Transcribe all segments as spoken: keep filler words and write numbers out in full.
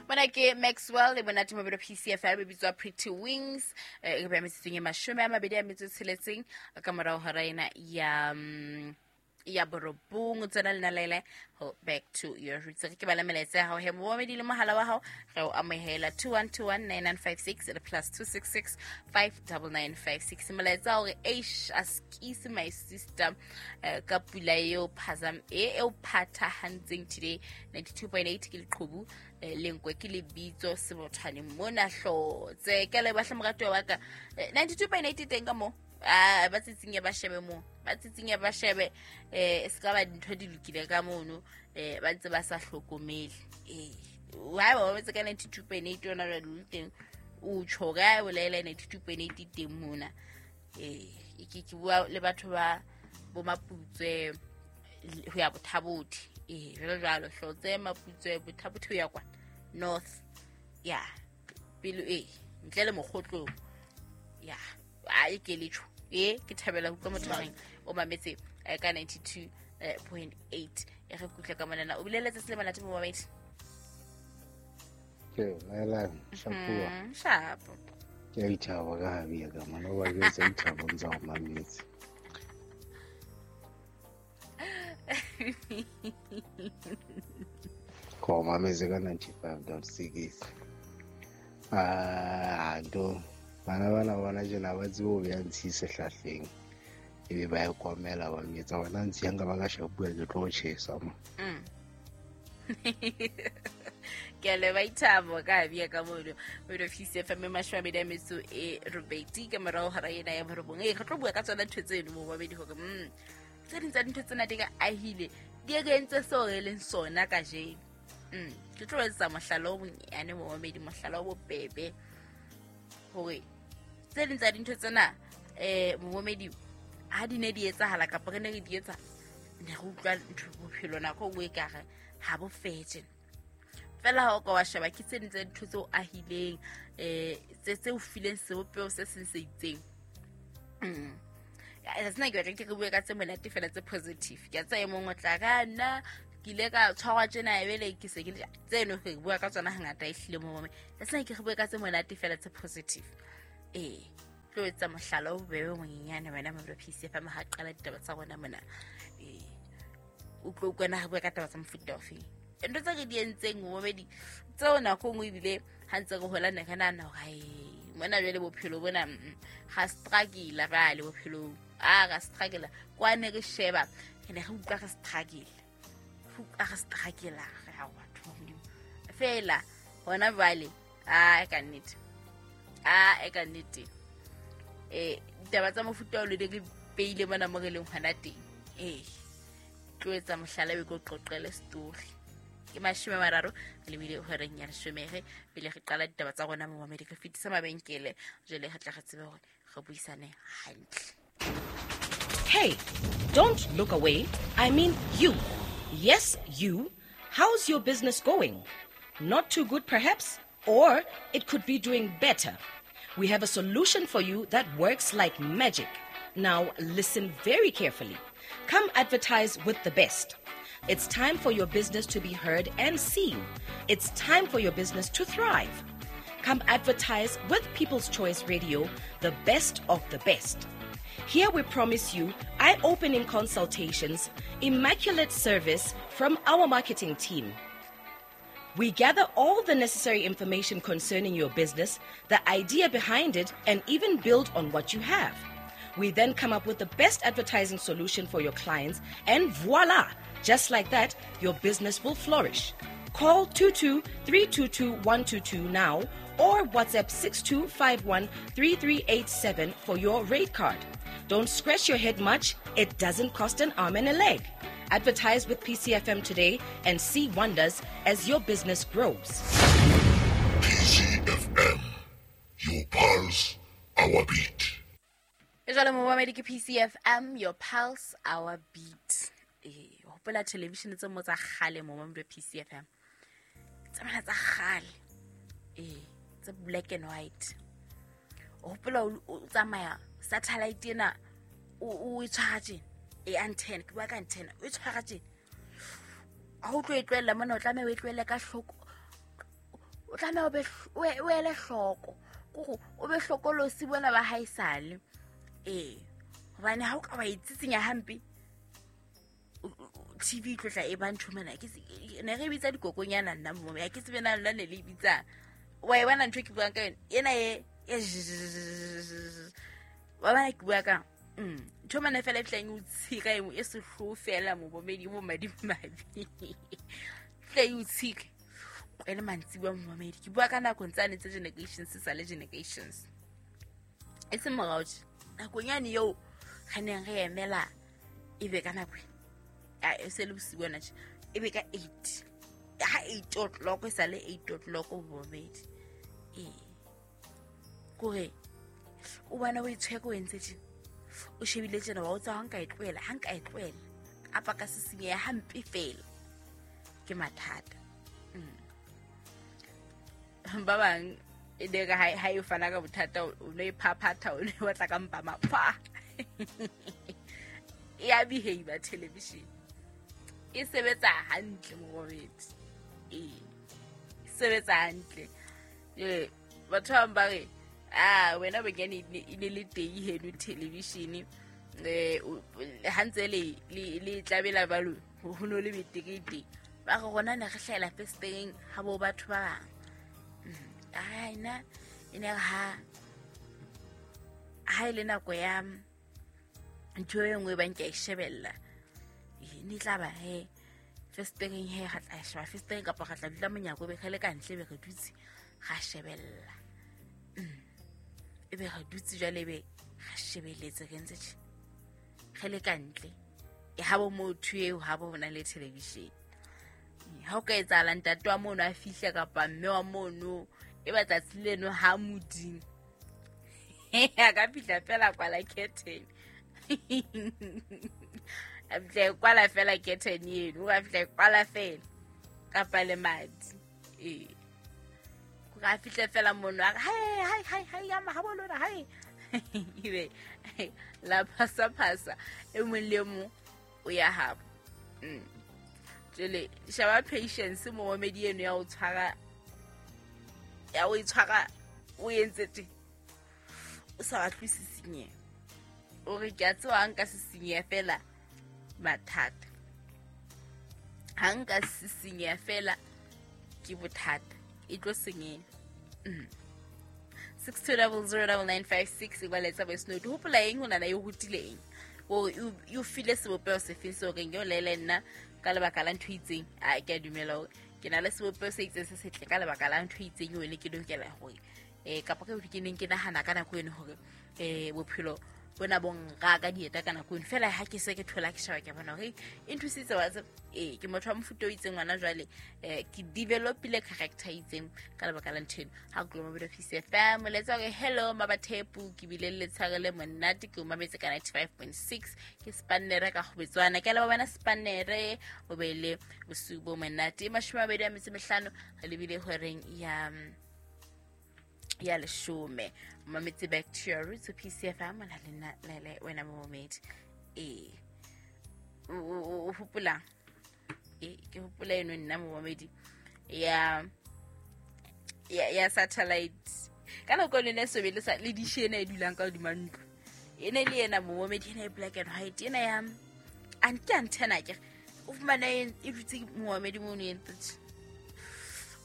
Mona ke Maxwell le Bonate Mabelo P C F M e bitswa Pretty Wings, e be metsetsong e mashome a mabedi a metso e tsheletseng ka morao hora ena ya ya borobong. Tsena le nalele ho back to your roots. Ke bala melaetsa ya hao he momedi le mohala wa hao re o amohela two one two one nine nine five six le plus two six six five nine nine five six. Melaetsa hore eish askisi my sister ka pula eo phazam e eo phathahantseng today ninety-two point eight ke leqhubu lenkwe ke lebitso sebothwane mona hlotse ke le bahla morato wa ka ninety-two point eight teng ka mo ah ba tsitsing ya ba shebe mo ba tsitsing ya ba shebe eh se ka ba dintho di lokile ka mono eh ba ntse ba sa hlokomele eh wa ba betse ka ninety-two point eight yona jwale le teng o tshoga o laela ninety-two point eight teng mona eh ke ke bua le batho ba bo Maputswe ho ya Bothabothi eh jalo jalo hlotse Maputswe Bothabothi ho ya kwa north ya pelo eh ntle le mokgotlo ya a ke letho e ke thabela ho utlwa motho reng o mametse ka ninety-two point eight e re kutle ka monana o bileletse se le monate mo babedi ke laela shapua shapo ke ithaba ka habia ka mona wa ke tsa ithaba ntsa o mametse ko mametse ka ninety-five point six ah do bana bana bona jena ba tsebo be ntshi sehlahleng e be ba e komela ba metsa bona ntshi yang ka ba ka shapua ke tlo chesa mo ke le ba ithabo ka bia ka mono mo office F M mashome a mabedi a metso e robedi ka morao hora ena ya borobong e re tlo bua ka tsona ntho tseno mo babedi hore mm tse ding tsa dintho tsena di ka ahile di re entse seo re leng sona kajeno mm ke tlo etsa mohlala o bonyane mo babedi mohlala o bobebe hore tse ding tsa dintho tsena eh momedi ha di ne di etsahala kapa re ne re di etsa ne re utlwa ntho bophelo nako nngwe e ka re ha bo fetse fela ha o ka wa sheba ke tse ding tsa dintho tseo ahileng eh tse tse o fileng sebopeho se seng se itseng mm ya tsena ke batla ke re bue ka tse monate fela tse positive ke a tsaya mongwe o tla ka nna ke ile ka tshwarwa tjena ebele ke se ke tseno re bua ka tsona hangata e hlile mo mome ya tsena ke re bue ka tse monate fela tse positive eh tlo etsa mohlala o bebe monyenyane wena mo P C F M ha qala ditaba tsa rona mona eh o tlo utlwana ha bua ka taba tsa mofuta ofe ntho tse re di entseng momedi tseo nako nngwe ebile ha ntse re hola ne re nahana hore ai mona jwale bophelo bona ga struggle ba le bophelong a ga struggle kwa ne re sheba re ne re utlwa re struggle a re struggle re ha batho Modimo fela hona jwale a ka nnete a e ka nnete eh ditaba tsa mofuta o le di re peile mona mo re leng hona teng eh tlo etsa mohlala be ko qoqele story ke mashome a mararo re lebile horeng ya leshome re pele re qala ditaba tsa rona mo mamedi re fetisa mabenkele jwale re tla re tsebe hore re buisane hantle. Hey, don't look away. I mean you. Yes, you. How's your business going? Not too good perhaps, or it could be doing better. We have a solution for you that works like magic. Now listen very carefully. Come advertise with the best. It's time for your business to be heard and seen. It's time for your business to thrive. Come advertise with People's Choice Radio, the best of the best. Here we promise you eye-opening consultations, immaculate service from our marketing team. We gather all the necessary information concerning your business, the idea behind it, and even build on what you have. We then come up with the best advertising solution for your clients, and voila! Just like that, your business will flourish. Call two two three two two one two two now or WhatsApp six two five one three three eight seven for your rate card. Don't scratch your head much. It doesn't cost an arm and a leg. Advertise with P C F M today and see wonders as your business grows. P C F M, your pulse, our beat. Jwale mo mamedi ke P C F M, your pulse, our beat. Eh, hopola television tse mo tsa kgale mo mamedi P C F M. Tsa mana tsa kgale. Eh, tsa black and white. Hopola o tsamaya satellite ena o o tshwara tjena e antenna ke bua ka antenna o tshwara tjena ha o tlo e tlohella mona o tlameha o e tlohelle ka hloko O tlameha o be o ele hloko. Kore o be hlokolosi bona ba haesale. Ee. Hobane ha o ka wa itsitsinya hampe T V e tlo tla e ba ntho mona ke ne re bitsa dikokonyana nna mo ya ke tsebe na lona ne le bitsa. Wa e bona ntho ke buang ka yona ena e wa bona ke bua ka mm ntho mana fela e fihlang e o tshika e e sehloho fela momamedi bo madimabe. Fihla e o tshika e le mantsibuya momamedi. Ke bua ka nako tsane tse generations se sa le generations. E se morao tje nakong yane eo re neng re emela e be ka nako a e se le bosiu bona tje e be ka eight ha eight o'clock e sa le eight o'clock momamedi. Ee kore o bona o itshweke o entse tje o shebile tjena wa o tsa ha nka e tlohela ha nka e tlohela kapa ka sisinyeha hampe fela ke mathata. Mm. Ba bang e ne ka ha e fana ka bothata o no e phaphatha o ne batla ka mpa mapha. E a behave television e sebetsa hantle momamedi. Ee e sebetsa hantle. Ee batho ba ba re ah wena bonyane e ne le teng heno television eh ha ntse le le tlabela balo ho no le betekete ba re rona ne re hlahela festeng ha bo batho ba bang. Ai na e ne ha ha ile nako ya ntho e nngwe ba nka e shebella e ne tla ba he festeng he ga tla sheba festeng kapa ga tla dula monyako be khale ka ntle be re dutse ga shebella. E be re dutse jwale be ga shebeletse re ntse tje re le ka ntle e ha bo motho eo ha bo bona le television. Ha o ka etsahala ntate wa mono a fihla kapa mme wa mono e ba tsatsi leno ha modimo a ka fihla fela kwala curtain. A fihla kwala fela curtain eno, a fihla kwala fela kapa le madi. Ee ka fihla fela mono a re hai hai hai hai ya ma ha bolona hai ebe la phasa phasa e mong le mong o ya habo. Mm. Jwale shaba patience momamedi eno ya o tshwara ya o itshwara o entse tje o sa batle sisinye o re ke a tseba ha nka sisinyeha fela mathata ha nka sisinyeha fela ke bothata e tlo senyeha. Mm. six two zero zero nine nine five six e ba letsa voice note. Hopola eng ho nana e rutile eng o you feel sebopeho sefeng seo reng yo lele nna ka lebaka la ntho itseng a ke a dumela hore ke na le sebopeho se itseng se setle ka lebaka la ntho itseng eo ne ke lokela hore eh kapa ke ke neng ke nahana ka nako eno hore eh bophelo bona bo nka ka dieta ka nako eno fela ha ke se ke thola ke shaba ke bona hore e nthusitse wa tseba eh ke motho wa mofuta o itseng ngwana jwale eh ke developile character itseng ka lebaka la ntho eno. Ha ke lo mabelo P C F M letsa hore hello mabathepu ke bile le letshare le monate ke o mametse ka ninety-five point six ke spannere ka kgobetswana ke le bona spannere o be le bosiu bo monate mashome a mabedi a metso mehlano re lebile horeng ya ya leshome mametse back to your roots P C F M na le le wena momamedi. Eh o hopola e ke hopola eno nna momamedi ya ya ya satellite ka nako le ne sobe le sa le dish ena e dulang ka hodima ntlo e ne le yena momamedi ena e black and white ena ya anti antenna ke o fumana e dutse momamedi mono e ntse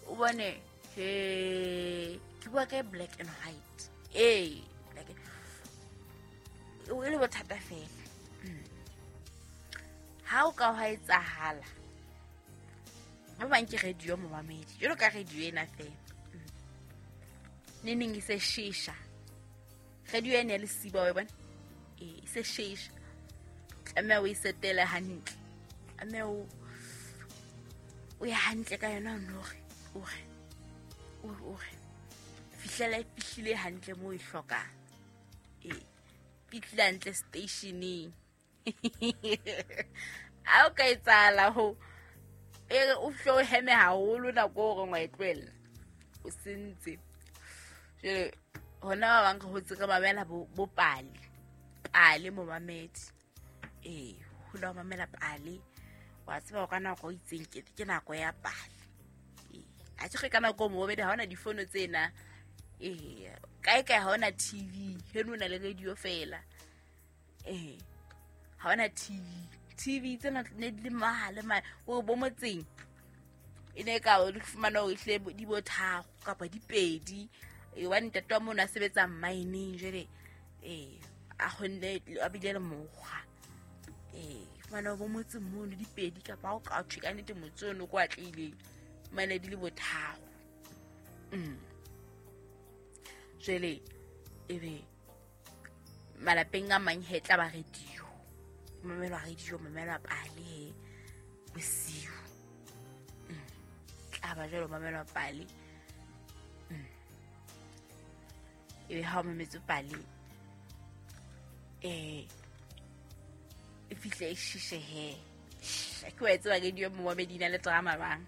o bone he ke bua ka black and white ee black o ile bothata fela. Ha o ka hwa etsahala ba bang ke radio momamedi jalo ka radio ena fela ne neng e se shisha radio ena le siba wa bona ee e se shisha tlameha o e setele hantle tlameha o o ya hantle ka yona o nore o re o o re fihlela e fihlile hantle mo e hlokang ee fihlile hantle stationeng. A o ka etsahala ho e re o hlo heme haholo nako o reng wa e tlohella o sentse. Jwale hona ba bang re hotse re mamela bo bo pale pale momamedi ee ho la mamela pale wa tseba ka nako e itseng ke ke nako ya pale ee a A tjhe ka nako mo bedi ha hona difono tsena. Eh kae kae ha hona T V, heno na le radio fela. Eh ha hona T V. T V tsena ne di le mahale ma o bo motseng. E ne ka o fumana o ihle di bo tharo kapa di pedi. E wa ntate wa mona sebetsa mining jwale eh a khonne a bile le mokgwa. Eh fumana bo motseng mono di pedi kapa o ka thwe ka nnete motse ono kwa tlile mane di le bo tharo. Mm. Jwale ebe malapeng a mang he tla ba radio. Mamelwa radio, mamelwa pale bosiu. Mm. Tla ba jwalo mamelwa pale. Mm. Ebe ha o mametse pale eh e fihle e shishe he. Ke wa tseba radio mo medina le drama bang.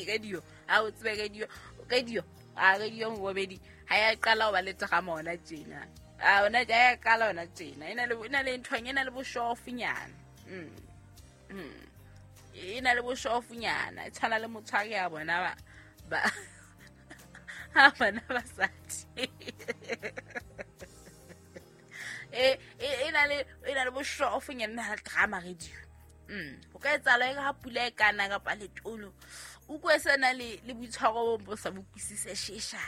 Radio, ha o tsebe radio, radio, a radio mo medi ha ya qala ho ba le drama ona tjena. A ona ja ya qala ona tjena. Ena le ena le ntho ena le boshofunyana. Mm. Mm. Ena le boshofunyana, e tshwana le motshwari ya bona ba ba ha bana ba sati. E e na le e na le boshofunyana na drama radio. Mm. Ho ka etsahala e ha pula e kana kapa letolo. O kwe sena le le boitshwaro bo sa bokwisise shesha.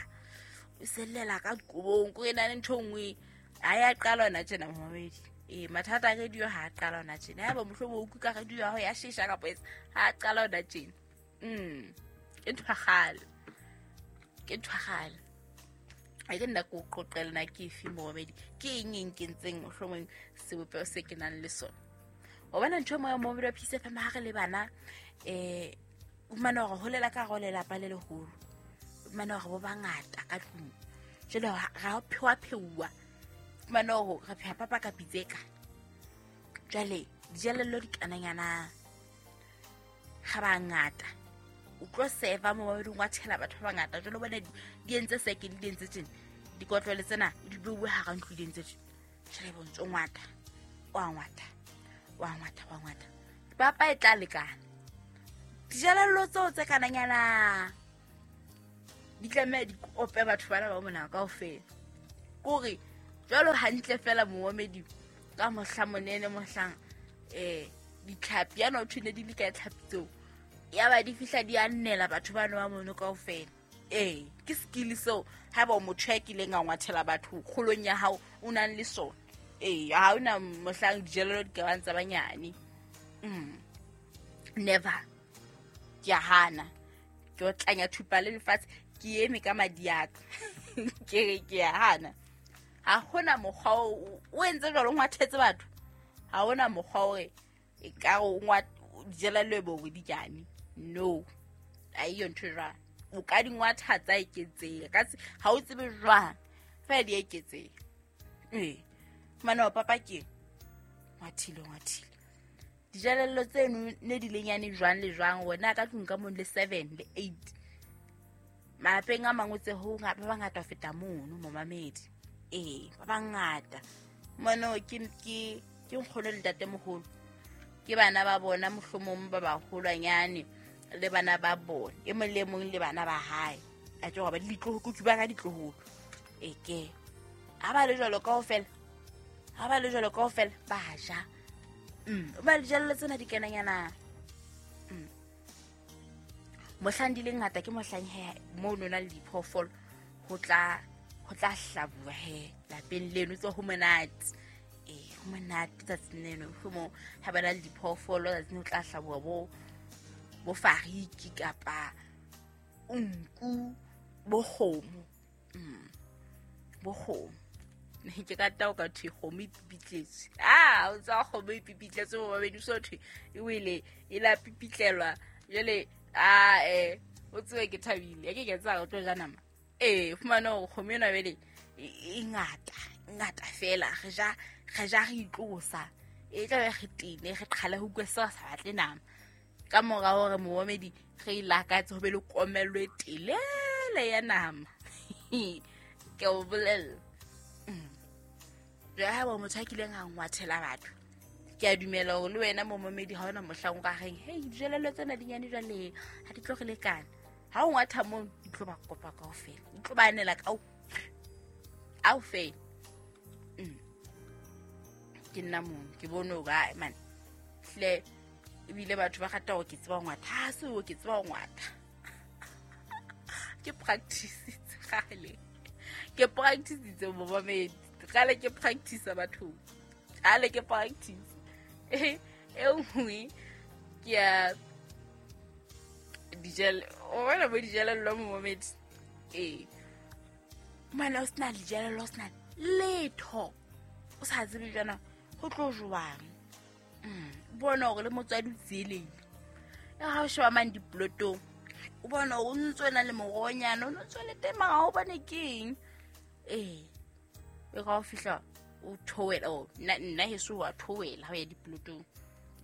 O sellela ka kobong ko ena le ntho nngwe ha ya qala ona tjena momedi. Eh mathata a radio ha qala ona tjena. Ha ba mohlomo o kuka radio ya ho ya shesha kapa etsa ha qala ona tjena. Mm. Ke ntho ya kgale. Ke ntho ya kgale. A ke nna ko qoqela na ke efe momedi. Ke eng e nkentseng mohlomong sebopeho se ke nang le sona. O bona ntho mo momedi wa Peace F M ha re le bana eh o mana hore holela ka go lelapa le leholo. Mana hore bo bangata ka tlung. Jwale ra phewa pheuwa. Mana hore re pheha papa ka pitseka. Jwale dijelello di kananyana ga bangata. O tlo seva mo ba dingwa tshela batho ba bangata. Jwale bona di entse seke di entse tjena. Dikotlolo tsena di beuwe ha ra ntlo di entse tjena. Jwale bontso ngwata. Wa ngwata. Wa ngwata wa ngwata. Papa e tla lekana. Dijelello tseo tse kananyana di tlameha di ope batho bana ba mona kaofela. Kore jwalo hantle fela moomedi ka mohla monene mohlang eh ditlhapi yana o thune di le ka tlhapi tseo. Ya ba di fihla di annela batho bana ba mono kaofela. Eh ke skill seo ha ba motho ya kileng a ngwathela batho kgolong ya hao o nang le sona. Eh ha ona mohlang dijelello di ka bang tsa banyane. Mm. Never. Ke a hana. Ke o tlanya thupa le lefatshe ke eme ka madi a ka. Ke re ke a hana. Ha hona mokgwa o entse jwalo o ngwathetse batho. Ha hona mokgwa o e ka o ngwa dijelello bo di jane. No. A iyo ntho jwang. O ka di ngwatha tsa eketseha. Ka ha o tsebe jwang. Fa di eketseha. Eh. Mana papa ke ngwathile ngwathile. Dijelello tseno ne di lenyane jwang le jwang wona ka tlung ka mong le seven le eight. Malapeng a mangwe tse ho ba bangata ho feta mono momamedi. Eh ba bangata. Mono ke ke ke nkgono le ntatemoholo. Ke bana ba bona mohlomong ba baholwanyane le bana ba bona. E mong le mong le bana ba hae. A tlo ba ditloholo ke ba ka ditloholo. E ke. Ha ba le jwalo kaofela. Ha ba le jwalo kaofela ba ja. Mm, ba dijelello tsena di kenanyana. Mm. Mohlang di le ngata ke mohlang he mo nona le diphoofolo ho tla ho tla hlabuwa he lapeng leno tso ho monate. Eh ho monate tsatsing leno mo ha ba na le diphoofolo tsatsing ho tla hlabuwa bo bo fariki kapa nku bo kgomo. Mm. Bo kgomo. Ke ka tao ka thwe kgomo e pipitletswe. Ah, o tsa kgomo e pipitletswe bo babedi so thwe e wele e la pipitlelwa. Jwale ah eh o tswe ke thabile. Ke ke tsa o tlo ja nama. Eh fumana hore kgomo ena bele e ngata, ngata fela re ja re ja re itlosa. E tla be re tene re qhala ho utlwa sa batle nama. Ka mora hore moomedi re ilakatse ho be le komello e telele ya nama. Ke o bolella. Jwale ha ba motho a kileng a ngwathela batho. Ke a dumela hore le wena momamedi ha ona mohlang o ka reng, hey dijelello tsena di nyane jwale ha di tlo re lekana. Ha o ngwatha mo di tlo ba kopa kaofela, di tlo ba anela ka kaofela. Mm. Ke nna mono ke bone hore ai man hle ebile batho ba rata hore ke tseba ho ngwatha, ha se hore ke tseba ho ngwatha. Ke practice kgale, ke practice momamedi kgale, ke practice bathong kgale, ke practice. E nngwe ke ya dijelo, o bona bo dijelello momamedi. Ee mana o sena dijelello, o sena letho, o sa tsebe jwana ho tlo jwang. Bona hore le motswadi o tsielehile. E ha o sheba mane diplotong, o bona o ntso na le moronyana, o ntso le teng mara ha o bone keng. Ee e ka o fihla o thoela, o nna nna heso wa thoela ha o ya diplotong.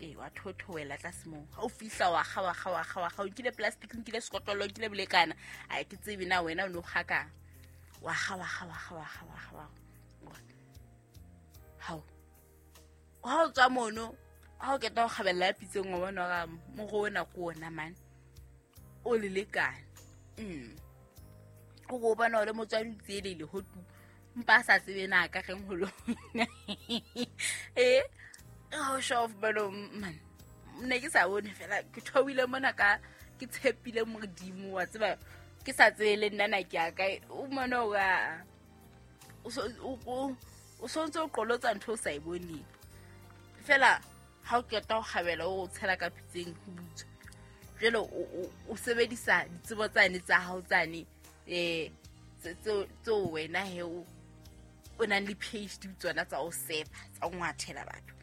Ee wa thoela tlase moo, ha o fihla wa kga wa kga wa kga wa kga, o nkile plastic, o nkile sekotlolo, o nkile bolekana, a ke tsebe na wena o no kga kang. Wa kga wa kga wa kga wa kga wa kga wa hao ha o tswa mono, ha o keta ho kgabella pitseng, o bona hore moro ona ke ona mane o le lekane. Mm. O go bona hore motswadi o tsielehile ho tu, mpa a sa tsebe na ka reng ho lona. Eh ha o show off bano man, ne ke sa bone fela, ke thoile mona ka ke tshepile Modimo wa tseba, ke sa tsebe le nna na ke ya kae. O mona hore o so o o sontse o qolotsa ntho o sa e boneng fela. Ha o qeta ho kgabela o tshela ka pitseng ho butswa, jwale o sebedisa ditsebo tsane tsa hao tsane eh tseo wena he o o nang le P H D tsona tsa o sefa tsa o ngwathela batho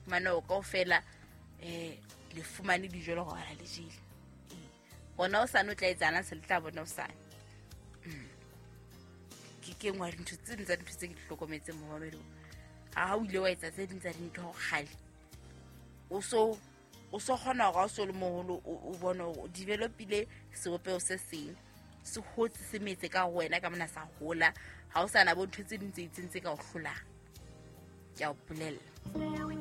mane o kaofela. Eh le fumane dijo le hore le jele bona o sane o tla etsana se le tla bona o sane. Ke ke nngwe ya dintho tse ding tsa dintho tse ke di hlokometseng momamedi. Ha o ile wa etsa tse ding tsa dintho kgale, o so o so kgona hore ha o so le moholo o bone hore o developile sebopeho se seng, se hotse se metse ka ho wena ka mona sa hola. Ha o sa na bo ntho tse ding tse itseng tse ka o hlolang, ke a o bolella.